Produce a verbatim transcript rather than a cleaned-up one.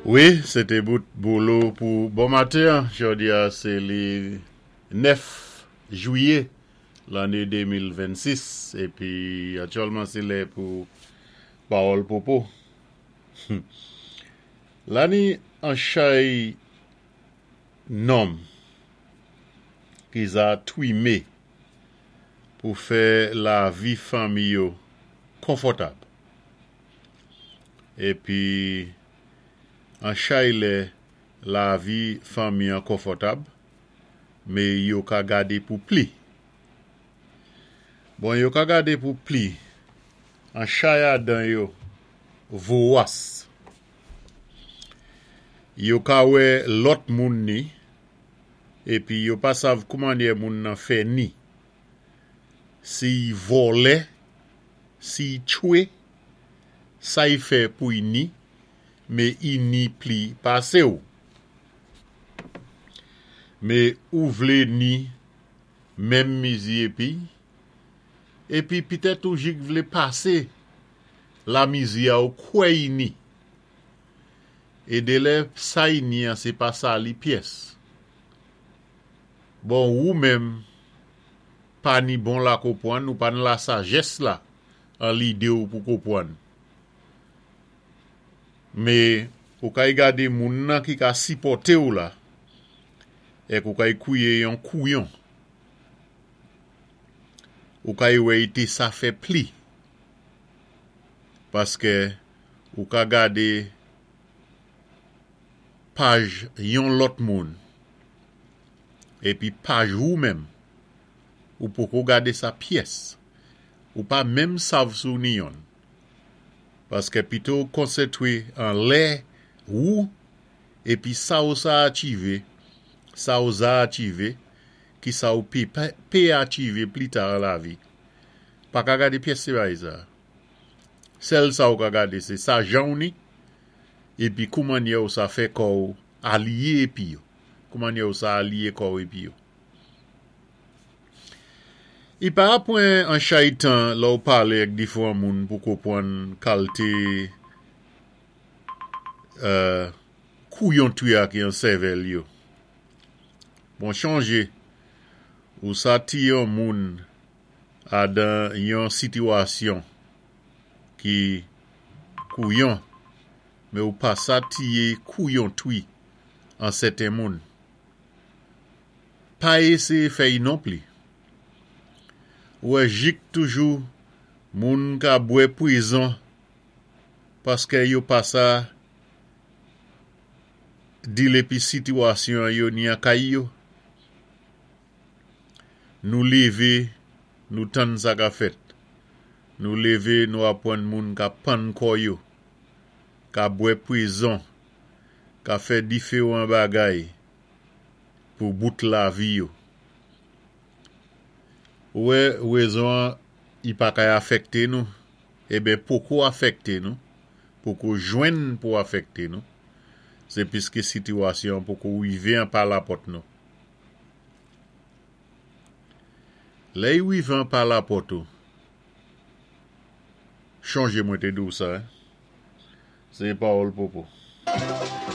Wi, sé té bout Bolo pou bon maten. Jòdi-a, sé li nèf jwiyé lanné de mil vennsis. Épi, aktyèlman, sé lè pou Pawòl Popo. La ni an chay nonm ki za twimé pou fè lavi fanmi yo konfòtab. Épi, an chay lè lavi fanmi an konfòtab, mé yo ka gadé pou pli. Bon, yo ka gadé pou pli, an chay adan yo vowas. Yo ka wè lòt moun ni, épi yo pa sav koumannyè moun nan fè ni. Si y vòlè, si y tchwé, sa y fè pou y ni, mé y ni pli pasé ou. Mé ou vlé ni menm mizi épi, épi pitèt ou jik vlé pasé lamizi a ou kwè y ni. É délè sa y ni an sé pa sa li pyès. Bon, ou menm pa ni bon lakonpwann ou pa ni lasajès la an lidé ou pou konpwann. Mé ou kay gadé moun nan ki ka sipòté ou la, èk ou kay kwié yon kouyon. Ou kay wè i té sa fè pli. Paské ou ka gadé paj yon lòt moun, épi paj ou menm, ou poko gadé sa pyès. Ou pa menm sav si ou ni yonn. Paské pito konsantwé an lè ou, épi sa ou sa achivé, sa ou za achivé, ki sa ou pé, pé achivé pli ta an lavi. Pa ka gadé pyès sé bagay sa. Sèl sa ou ka gadé, sé sa jan ou ni, épi koumannyè ou sa fè kò ou aliyé épi yo. Koumannyè ou sa aliyé kò ou épi yo. I pa pwan an chay tan lè ou palé ak diféwan moun pou konpwann kalté euh, kouyon twi-a ki an sèvèl yo. Bon, chonjé, ou sa tié yon moun adan yon sitiwasyon ki kouyon, mé ou pa sa tié kouyon twi an sèten moun. Pa éséyé fè-y non pli. Ou wè jik toujou moun ka bwè pwizon paské yo pa sa dil épi sitiwasyon yo ni an kay yo. Nou lévé, nou tann sa ka fèt. Nou lévé, nou apwann moun ka pann kò yo, ka bwè pwizon, ka fè diféwan bagay pou bout lavi yo. Ou wè, wézon an, i pa kay afèkté nou, eben poko afèkté nou, poko jwenn pou afèkté nou, sé piské sitiwasyon poko wivé an pa lapòt nou. Lè y wivé an pa lapòt ou, chonjé mwen té di ou sa, hein? Sé Pawòl Popo.